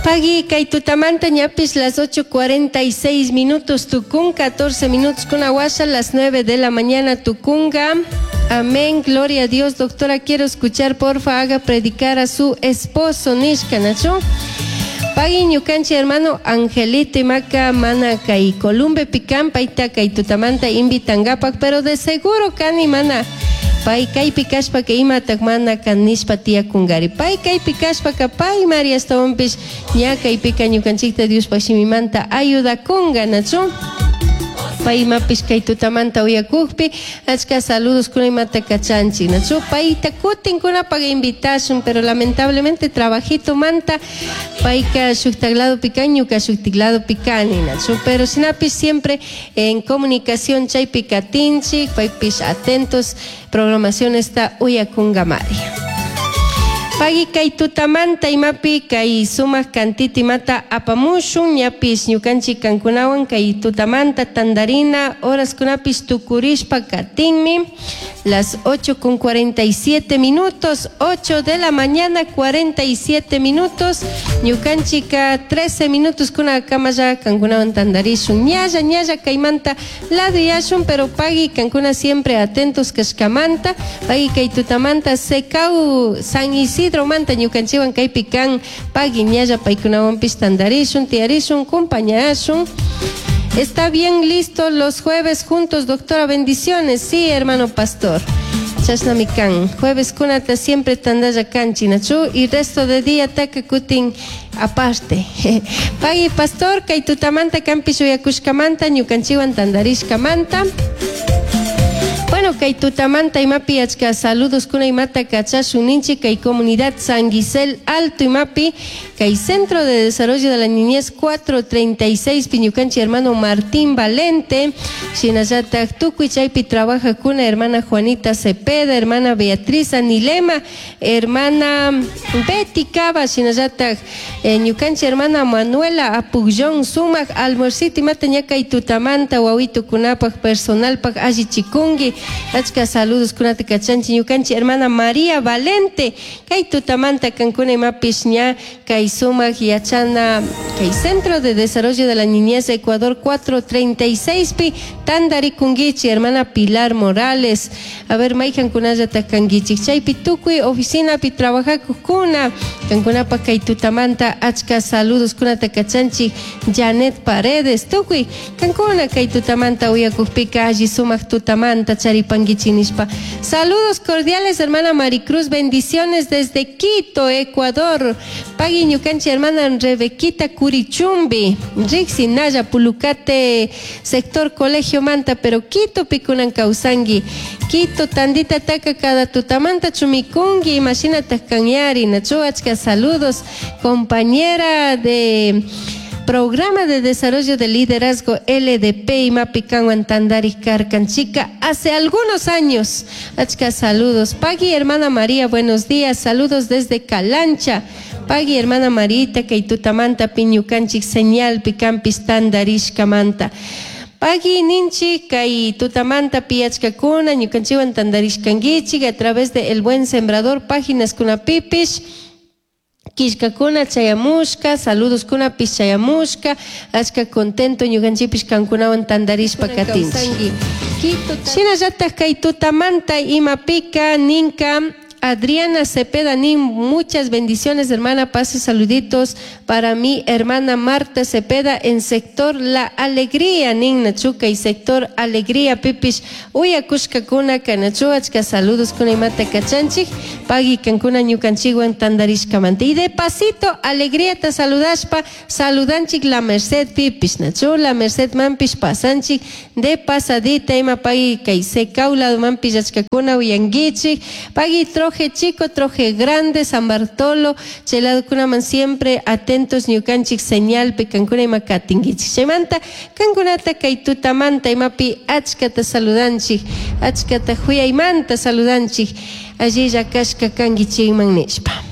Pagui kay tutamanta ñapish las 8:46 minutos tukun, 14 minutos kuna washa, las 9 de la mañana tukunga. Amén, gloria a Dios. Doctora, quiero escuchar, porfa, haga predicar a su esposo, nishka, nachu. Pagui ñukanchi hermano Angelito imaka mana kay Columbe pikan payta kay tutamanta invitangapak, pero de seguro kani mana pay kaypi kashpaka imatak mana kan nishpa tiyakungari. Pay kaypi kashpaka pay mari ashtawanpish ña kaypika ñukanchikta Diospaj shimimanta ayudakunga, nachu? Pay imapish kay tutamanta uyakukpi achka saludos kuna imata kachanchik, nachu? Payta kutin kunapak invitashun, pero lamentablemente trabajito manta payka shuktak ladopi kan, ñuka shuktik ladopi kani, nachu? Pero shinapish siempre en comunicación chaypi katinchik, paypish atentos programación esta uyakungamari. Pagui kay tutamanta imapi kay sumak kantita imata apamushun, ñapish ñukanchik kankunawan kay tutamanta tandarina horaskunapish tukurishpa katinmi, las 8 con 47 minutos, 8 de la mañana 47 minutos, ñukanchika 13 minutos kuna kamalla kankunawan tandarishun, ñalla ñalla kaymanta laduyashun, pero pagui kankuna siempre atentos kashkamanta, pagui kay tutamanta Secau San Isidro manta ñukanchiwan kaypi kan, pagui ñalla paykunawanpish tandarishun, tiyarishun, compañashun. Está bien listo los jueves juntos, doctora, bendiciones. Sí, hermano pastor. Chashnami kan. Jueves kunata siempre tandalla kanchi, nachu, y resto de día taka kutin aparte. Pagui pastor, kay tutamanta kanpish uyakushkamanta, ñukanchiwan tandarishkamanta. Bueno, kay tutamanta imapi achka saludos kuna imata kachashun ninchik kay comunidad San Gisel Alto imapi kay Centro de Desarrollo de la Niñez 436 piñukanchi hermano Martín Valente, shinallatak tukuy chaypi trabaja kuna hermana Juanita Cepeda, hermana Beatriz Anilema, hermana Betty Cava, shinallatak ñukanchi hermana Manuela Apugyón sumak almuercito imata ña kay tutamanta wawitukunapaj personalpaj allichikunki. Achka saludos kunata kachanchi ñukanchi hermana María Valente kay tutamanta kankuna imapish ña kay sumak yachana kay Centro de Desarrollo de la Niñez Ecuador 436 pi tandarikunkichik hermana Pilar Morales. A ver, mayjankunallatak kankichik chaypi tukuy oficinapi trabajakukuna kankunapaj kay tutamanta achka saludos kunata kachanchik Janet Paredes tukuy kankuna kay tutamanta uyakukpika alli sumak tutamanta charipankichik nishpa. Saludos cordiales hermana Maricruz, bendiciones desde Quito, Ecuador. Pagui ñukanchik hermana Rebequita Curichumbi, riksi naya Pulucate sector colegio manta, pero Quito pikunan kawsanki. Quito tandita taka cada tutamanta chumikunki, imashinatak kanyari, nachu achka saludos, compañera de Programa de Desarrollo de Liderazgo LDP imapi kanwan tandari karkanchika hace algunos años. Achka saludos. Pagui hermana María, buenos días. Saludos desde Calancha. Pagui hermana Marita, kay tutamanta piñukanchik señal picampis tandarishkamanta. Pagui ninchi kay tutamanta piachkakuna ñukanchiwan tandarishkankichik a través de El Buen Sembrador páginas kunapipish. Killkakuna chayamushka, saludos kunapish chayamushka, achka contento ñukanchikpish kankunawan tandarishpa katinchik. Shinallatak kay tutamanta imapika ninka Adriana Cepeda nin, muchas bendiciones hermana, pase saluditos para mi hermana Marta Cepeda en sector La Alegría, nin nachuka y sector Alegría pipish uyakushkakuna kanachu achka saludos kuna imata kachanchik, pagui kankuna ñukanchikwan tandarishkamanta. Y de pasito Alegría ta saludashpa, saludanchik La Merced pipish nachu, La Merced manpish pasanchik de pasadita ima pagui kay Secau lado manpish achkakuna uyankichik, pagui Troje Chico, Troje Grande, San Bartolo, chay ladokunaman siempre atentos ñukanchik señalpi kankuna ima katinkichik. Chaymanta kankunata kay tutamanta imapi achkata saludanchik, achkata huyaymanta saludanchik, allilla kashka kankichikman nishpa.